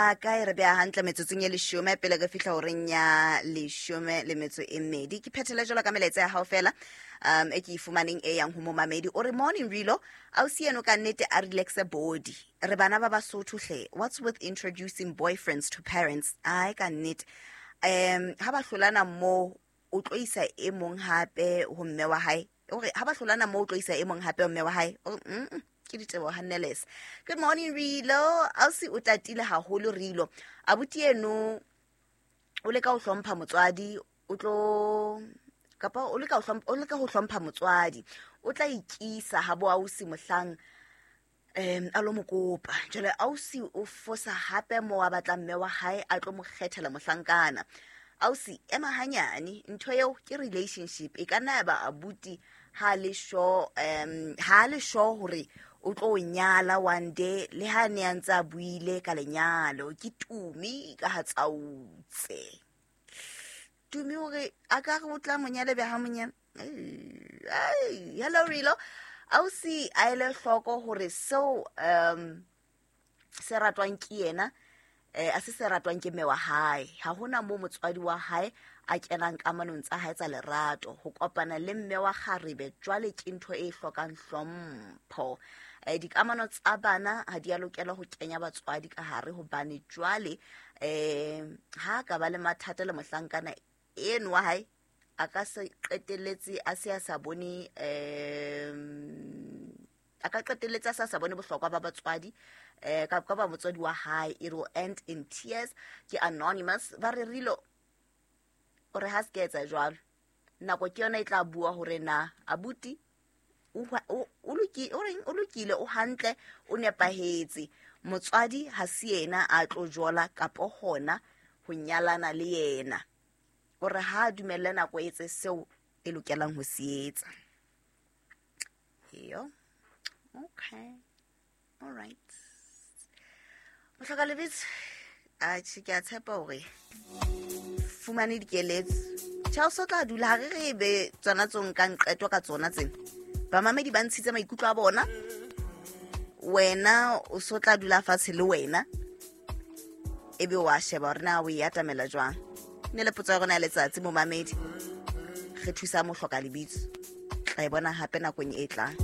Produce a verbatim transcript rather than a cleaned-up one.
Ka e re beha hantle metsotsong e leshome pele re fihla horeng ya leshome le metso e mmedi. Ke phethele jwalo ka melaetsa ya hao fela um e ke e fumaneng e yang ho momamedi. O re, "Morning Rilo, ausi eno ka nnete a relaxe body. Re bana ba Basotho hle. What's with introducing boyfriends to parents? Ai, ka nnete, um ha ba hlolana mo o tlo isa e mong hape ho mme wa hae." O re ha ba hlolana mo o tlo isa e mong hape ho mme wa hae. O re, mm -mm, ke diteboho Hanneles. Good morning Rilo, ausi o tatile haholo Rilo. Abuti eno o leka ho hlompha motswadi, o tlo kapa o leka ho hlompha, o leka ho hlompha motswadi, o tla ikisa ha bo ausi mohlang um a lo mo kopa. Jwale ausi o fosa hape mo a batlang mme wa hae a tlo mo kgethela mohlankana. Ausi, ema hanyane, ntho eo ke relationship. E ka nna ya ba abuti ha le sure, um ha le sure hore o tlo o nyala one day, le ha ne a ntse a buile ka lenyalo. Ke Tumi ka ha Tsautse. Tumi hore a ka re o tla mo nyala be ha mo nyala. Ai, hello Rilo, ausi a ele hloko hore seo um se ratwang ke yena eh a se se ratwang ke mme wa hae. Ha hona mo motswadi wa hae a kenang kamanong tsa hae tsa lerato. Ho kopana le mme wa kgarebe jwale ke ntho e hlokang hlompho. Eh dikamano tsa bana ha di a lokela ho kenya batswadi ka hare, hobane jwale eh ha ka ba le mathata le mohlankana eno wa hae, a ka se qetelletse a se a sa bone, um a ka qetelletse a sa sa bone bohlokwa ba batswadi, eh ka ka ba motswadi wa hae. It will end in tears. Ke Anonymous. Ba re Rilo o re ha se ke etsa jwalo, nako ke yona e tla bua hore na abuti o o o loki- o reng, o lokile, o hantle, o nepahetse. Motswadi ha se yena a tlo jola kapo hona ho nyalana le yena. O re ha a dumelle nako e etse seo e lokelang ho se etsa. Eyo, okay, all right, mohloka lebitso. Atjhe, ke a tshepa hore fumane dikeletso. Charles o tla dula ha re re be tsona tso nkang qeto ka tsona tsena. Bamamedi ba ntshitse maikutlo a bona, wena o so tla dula fatshe le wena ebe wa sheba hore na o e atamela jwang. Ne le potso ya rona ya letsatsi, momamedi, re thusa mohloka lebitso. Tla e bona hape nakong e tlang.